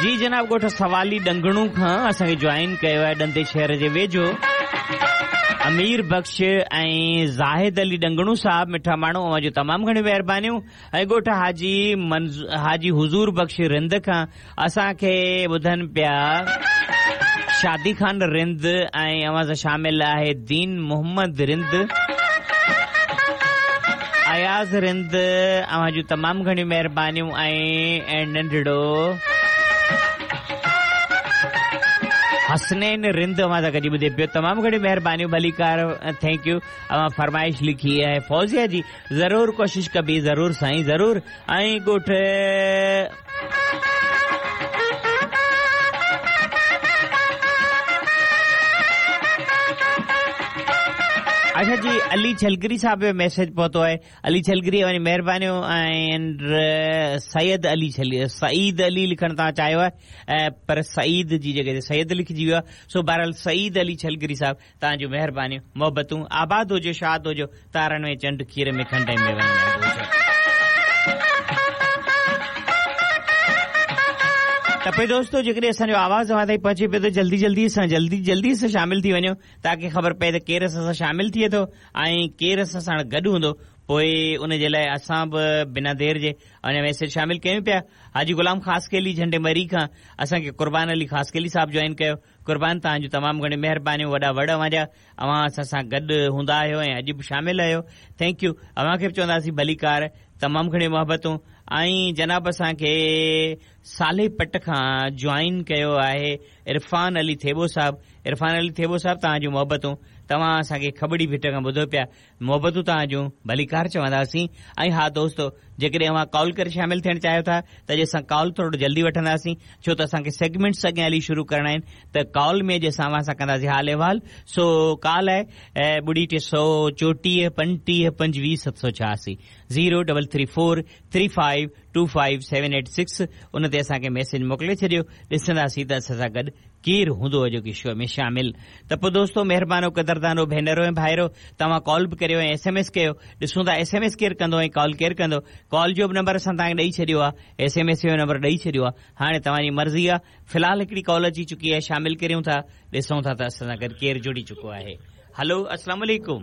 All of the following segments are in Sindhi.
جي جناب ڳوٺ سوالي ڏنگڻو کان اسان کي جوائن ڪيو آهي ڏندي شهر جي ويجهو امير بخش ۽ زاهد علي ڏنگڻو صاحب مٺا ماڻهو اوهان جون تمام گهڻيون مهربانيون ۽ ڳوٺ حاجي حاجي حضور بخش رند کان اسان کي ٻڌن پيا شادي خان رند ۽ اوهان سان شامل آهي دين محمد رند اياز رند اوهان جون تمام گهڻيون مهربانيون ۽ ننڍڙو حسنين رند اوهان سان گڏي ٻڌي پيو تمام گهڻيون مهربانيون ڀليڪار thank you اوهان فرمائش لکي آهي فوزيا جي ضرور ڪوشش ڪبي ضرور سائين ضرور ۽ ڳوٺ اڇا جي علي ڇلگري صاحب جو ميسيج پهتو آهي علي ڇلگري اوهان جي مهربانيون ۽ سيد علي سعيد علي لکڻ توهان چاهيو آهي پر سعيد جي جڳهه تي سيد لکجي ويو آهي سو بهرحال سعيد علي ڇلگري صاحب توهان جون مهربانيون محبتون آباد هجو شاد هجو تارن ۾ چنڊ کير ۾ کنڊ ۽ ميون ۾ انب هجو. ته پوء دوستو جيڪڏهن اسان جو آواز اوهان تائين پهچي پيو ته جلدي جلدي سان جلدي جلدي سان شامل ٿي وڃو تاڪي خبر پئي ته ڪير اسان سان شامل ٿئي ٿو ۽ ڪير اسان ساڻ گڏ هوندو پوء ان جي لاء اسان به بنا دير جي اوهان جا ميسيج شامل ڪيون پيا حاجي غلام خاصخيلي جهنڊي مري کان اسان کي قربان علي خاصخيلي صاحب جوائن ڪيو قربان توهان جون تمام گهڻيون مهربانيون وڏا وڙ اوهان جا اوهان اسان سان گڏ هوندا آهيو ۽ اڄ به شامل آهيو thank you اوهان کي به چونداسين ڀليڪار تمام گهڻيون محبتون ۽ جناب اسان کي صالح پٽ کان جوائن ڪيو آهي عرفان علي ٿيٻو صاحب عرفان علي ٿيٻو صاحب توهان جون محبتون توهان اسان کي کٻڙي ڀٽ کان ٻڌو پيا محبتون توهان جون ڀليڪار چونداسين ۽ ها دوستو جيڪڏهن اوهان ڪال ڪري شامل ٿيڻ چاهيو ٿا ته اڄ اسان ڪال ٿورو جلدي وٺنداسين ڇو ته اسان کي سيگمينٽس اڳيان هلي شروع ڪرڻا آهن ته ڪال ۾ اڄ اسان اوهان سان ڪنداسين حال احوال سو ڪال آهي ٻڙي ٽي سو چوٽيهه پنجٽيهه پنجويهه 786 zero double three four three five two five seven eight six ان تي اسان کي ميسيج موڪلي ڇڏيو ڏسنداسين ته اسان سان گڏ ڪير هوندو اڄوڪي شو ۾ شامل ته پوء دوستو مهربانو قدردانو ڀينرو ۽ ڀائرو توهان ڪال به ڪريو ۽ ايس ايم ايس ڪيو ڏسون ٿا ايس ايم ايس ڪير ڪندو ۽ ڪال ڪير ڪندو ڪال جو به نمبر اسان توهان کي ڏئي ڇڏيو آهي ايس ايم ايس جو نمبر ڏئي ڇڏيو آهي هاڻي توهان جي مرضي آهي في الحال هڪڙي ڪال اچي چڪي آهي شامل ڪريون ٿا ڏسون ٿا ته اسان سان گڏ ڪير جڙي چڪو آهي هلو اسلام عليڪم.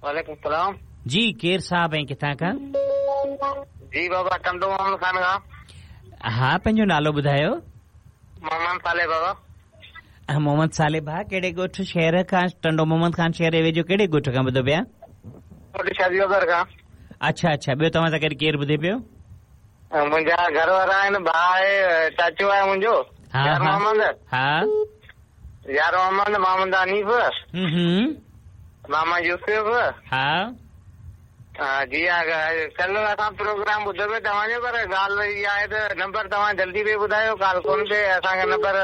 وعليڪم السلام. جي ڪير صاحب ۽ ڪٿان کان؟ جي بابا ٽنڊو محمد خان کان. ها پنهنجو نالو ٻڌايو. محمد صالح بابا. محمد صالح ڀاء ڪهڙي ڳوٺ شهر کان ٽنڊو محمد خان شهر جي ويجهو ڪهڙي ڳوٺ کان ٻڌو پيا؟ ڳوٺ شادي وگر کان. اڇا اڇا ٻيو توهان سان گڏ ڪير ٻڌي پيو؟ منهنجا گهر وارا آهن ڀاء آهي چاچو آهي منهنجو يار محمد. ها. يار محمد محمد حنيف. ماما يوسف. ها. جي ها ڪلهه اسان پروگرام ٻڌو پئي توهان جو پر ڳالهه اها آهي ته نمبر توهان جلدي پئي ٻڌايو ڪالهه ڪونه پئي اسان کي نمبر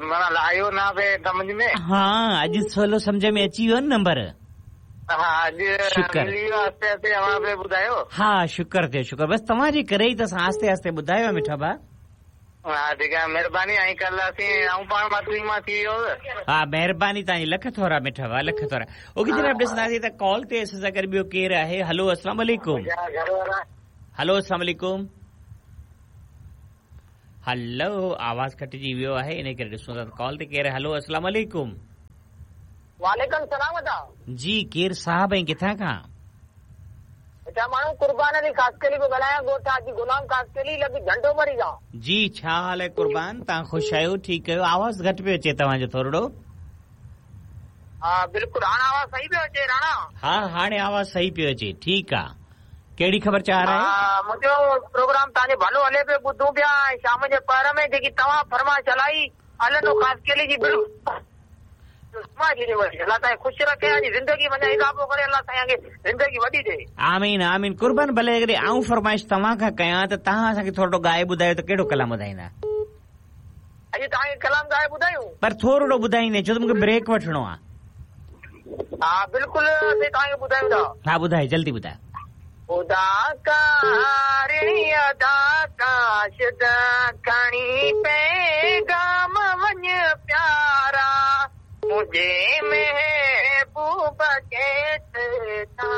معنيٰ آيو نه پئي سمجهه ۾. ها اڄ سولو سمجهه ۾ اچي ويو نه نمبر. ها اڄ شڪر. ملي ويو آهستي آهستي اوهان پئي ٻڌايو. ها شڪر ٿيو شڪر بس توهان جي ڪري ئي ته اسان آهستي آهستي ٻڌايو آهي مٺا ڀاء. ها ٺيڪ آهي مهرباني ۽ ڪلهه اسين آئون پاڻ ماتلي مان ٿي ويو هوس. ها مهرباني توهان جي لک ٿورا مٺا ڀاء لک ٿورا اوڪي جناب ڏسنداسين ته ڪال تي اسان سان گڏ ٻيو ڪير آهي هلو اسلام عليڪم هلو اسلام عليڪم هلو آواز ڪٽجي ويو آهي ان ڪري ڏسون ٿا ته ڪال تي ڪير آهي هلو اسلام عليڪم. وعليڪم سلام ادا. جي ڪير صاحب ۽ ڪٿان کان. ادا ماڻهو قربان علي خاصخيلي پيو ڳالهايان ڳوٺ حاجي غلام خاصخيلي لڳ جهنڊو مري کان. جي ڇا حال آهي قربان توهان خوش آهيو ٺيڪ آهيو آواز گهٽ پيو اچي توهان جو ٿورڙو. ها بلڪل هاڻ آواز صحيح پيو اچي راڻا. ها هاڻي آواز صحيح پيو اچي ٺيڪ آ ڪهڙي خبر چار آهي. ها منهنجو پروگرام توهان جو ڀلو هلي پيو ٻڌون پيا ۽ شام جي پهر ۾ جيڪي توهان فرمائش هلائي الهڏنو خاصخيلي جي بلڪل الله سائين خوش رکي ۽ زندگي منجهه اضافو ڪري الله سائين کي زندگي وڏي ڏي. آمين آمين قربان ڀلي جيڪڏهن آئون فرمائش توهان کان ڪيان ته توهان اسان کي ٿورڙو ڳائي ٻڌايو ته ڪهڙو ڪلام ٻڌائيندا. اڄ توهان کي ڪلام ڳائي ٻڌايون. پر ٿورڙو ٻڌائيندي ڇو ته مونکي بريڪ وٺڻو آ. ها بلڪل اسين توهان کي ٻڌايون ٿا. ها ٻڌايو جلدي ٻڌايو. خدا ڪارڻي ادا ڪاشد کڻي پيغام وڃ پيارا منهنجي محبوب کي ته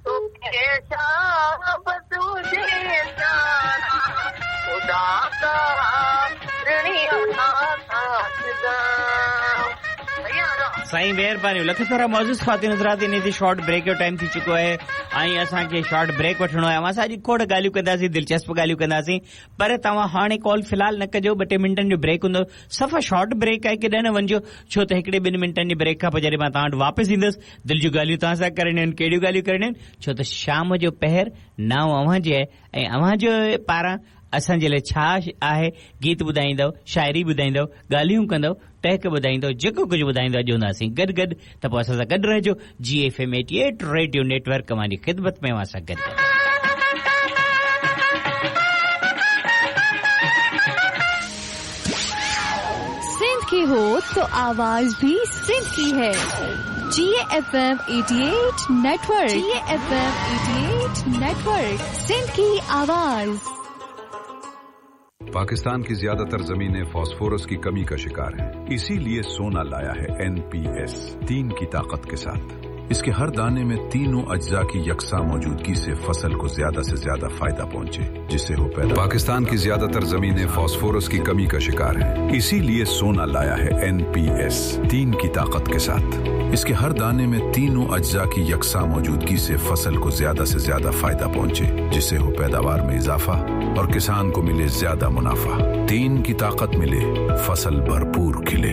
توکي شابس هجي پيارا خدا ڪارڻي. سائين مهرباني لک ٿورا معزز خواتين حضرات انهي تي شارٽ بريڪ جو ٽائيم ٿي چڪو آهي ۽ اسان کي شارٽ بريڪ وٺڻو آهي اوهان سان اڄ کوڙ ڳالهيون ڪنداسين دلچسپ ڳالهيون ڪنداسين پر توهان هاڻي ڪال في الحال نه ڪجو ٻه ٽي منٽن جو بريڪ هوندو صفا شارٽ بريڪ آهي ڪيڏانهن نه وڃجو ڇو ته هڪڙي ٻن منٽن جي بريڪ کان پوء جڏهن مان توهان وٽ واپس ايندس دل جون ڳالهيون توهان سان ڪرڻيون آهن ڪهڙيون ڳالهيون ڪرڻيون آهن ڇو ته شام جو پهر نانء اوهان جي آهي ۽ اوهان جي پاران اسان جي لاء ڇا آهي گيت ٻڌائيندؤ شاعري ٻڌائيندؤ ڳالهيون ڪندؤ ٽهڪ ٻڌائيندؤ جيڪو ڪجهه ٻڌائيندؤ اڄ هونداسين گڏ گڏ ته پوء اسان سان گڏ رهجو جي F M eighty eight radio network اوهان جي خدمت ۾ اوهان سان گڏ گڏ. سنڌ की हो तो आवाज भी सिंध की है जी F M 88 network ji F M 88 network Sindh की आवाज पाकिस्तान की ज्यादातर जमीनें फास्फोरस की कमी का शिकार हैं। इसीलिए सोना लाया है एनपीएस तीन की ताकत के साथ इसके हर दाने में तीनों अज्जा की यकसा मौजूदगी से फसल को ज्यादा से ज्यादा फायदा पहुंचे जिससे हो पैदा पाकिस्तान की ज्यादातर जमीनें फास्फोरस की कमी का शिकार हैं। इसीलिए सोना लाया है एनपीएस तीन की ताकत के साथ इसके हर दाने में तीनों अज्जा की यकसा मौजूदगी से फसल को ज्यादा से ज्यादा फायदा पहुंचे जिससे हो पैदावार में इजाफा और किसान को मिले ज्यादा मुनाफा तीन की ताकत मिले फसल भरपूर खिले।